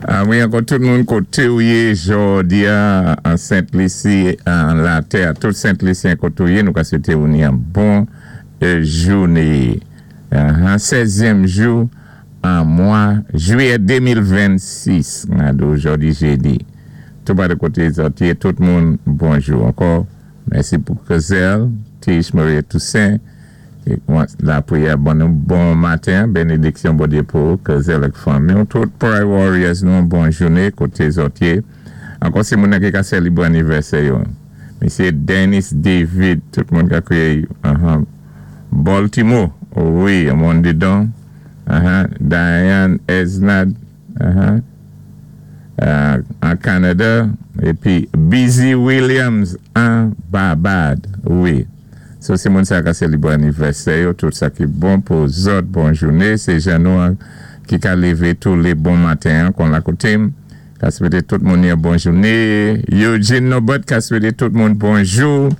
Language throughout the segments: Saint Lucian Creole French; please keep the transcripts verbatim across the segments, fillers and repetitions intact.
Ah, wi, ankò tout moun koté ou yé jòdi a, an Sent Lisi, an latè, tout Sent Lisyen koté ou yé, nou ka swété ou ni an bon euh, jouné. Uh, sèzyèm jou an mwa jwiyè de mil vennsis, jòdi jédi. Tout pa de koté zòt yé, tout moun bonjou. Ankò, mèsi pou Kezel, Tish, Maria Toussaint, é lapriyè bon, bon maten, bénédiksyon Bondyé pou Kezel ak fanmi, tout Prayer Warriors nou bon jouné koté zòt yé. Ankò sé moun ki ka sélébwé anivèsè yo. Misyé Dennis David, tout moun ka kwiyé uh-huh. Baltimore, oh wi, moun didan. Uh-huh. Diane Esnad, uh-huh. Uh, an Kanada, épi Busy Williams an Barbad, wi. So, sé moun sa ka sélébwé anivèsè yo, tout sa ki bon pou zòt, bon jouné, sé jan nou ki ka lévé tou lé bon maten, kon la koté m, ka swété tout moun yon bon jouné. Eugene Nobot ka swété tout moun bonjou,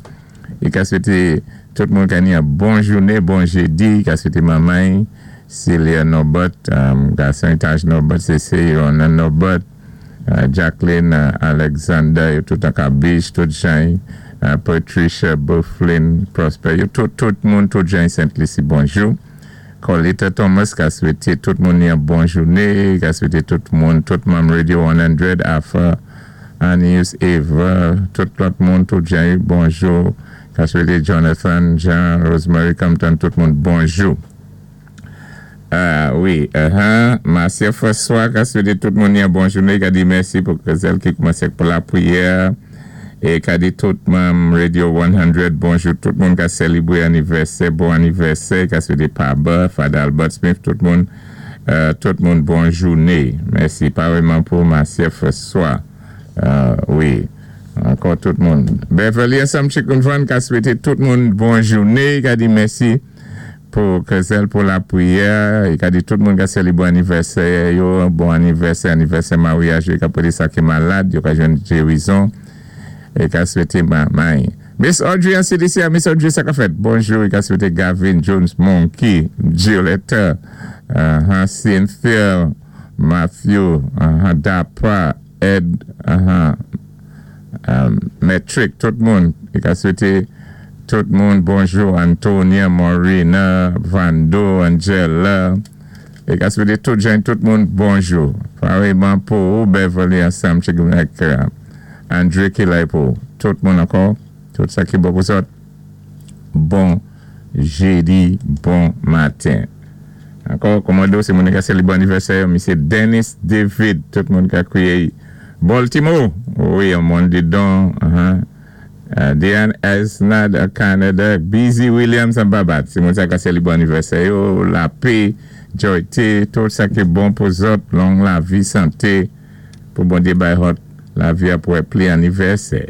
é ka swété tout moun ka ni yon bon jouné, bon jédi, ka swété manman, Celia Nobot, um, gason Taj Nobot, sé Ronan Nobot, uh, Jacqueline uh, Alexander, yo tout an Kabish, tout jan, uh, Patricia Bufflin, Prosper, yo tout, tout moun, tout jan Sent Lisi, bonjou. Colita Thomas ka swété tout moun yon bon jouné, ka swété tout moun, tout manm Radio san, Afa, Anius, Eva, tout lòt moun, tout jan, bonjou. Ka swété Jonathan, Jean, Rosemary Compton, tout moun, bonjou. Ah wi, uh-huh. Marcia François ka swété tout moun yon bon jouné, ka di mèsi pou Kezel ki koumansé pou lapriyè, é ka di tout manm Radio san, bonjou, tout moun ka sélébwé anivèsè, bon anivèsè, ka swété Paba, Fada Albert Smith, tout moun, euh, tout moun bon jouné. Mèsi, parèyman pou Marcia François. Euh, wi, ankò tout moun. Beverly ansanm Chicken Van ka swété tout moun bon jouné, ka di mèsi pou Kezel pou lapriyè, é ka di tout moun ka sélébwé anivèsè yo, bon anivèsè, anivèsè maryaj, yo ka poté sa ki malad, yo ka jwenn gérizon, é ka swété manman. Miss Audrey an C D C, Miss Audrey sa ka fèt, bonjou, é ka swété Gavin Jones Monkey, Gioletta, uh, Cynthia, Matthew, uh, Dapra, Ed, uh, um, Metric, tout moun, é ka swété tout moun bonjou, Antonia, Morina, Vando, Angela, é ka swété tout jan, tout moun bonjou. Parèyman pou Beverly ansanm, ak André ki la pou tout moun ankò, tout sa ki bon pou zòt. Bon jédi, bon maten. Ankò, kòmando, sé moun ka sélébwé anivèsè, Misyé Dennis David, tout moun ka kwiyé Baltimore, wi, moun didan, uh-huh. Uh, Diane Esnad Canada, Busy Williams an Barbad. Sé moun sa ka sélébwé anivèsè yo, lapè, Joy T, tout sa ki bon pou zòt, long lavi, santé, pou Bondyé bay zòt, lavi apwé pli anivèsè.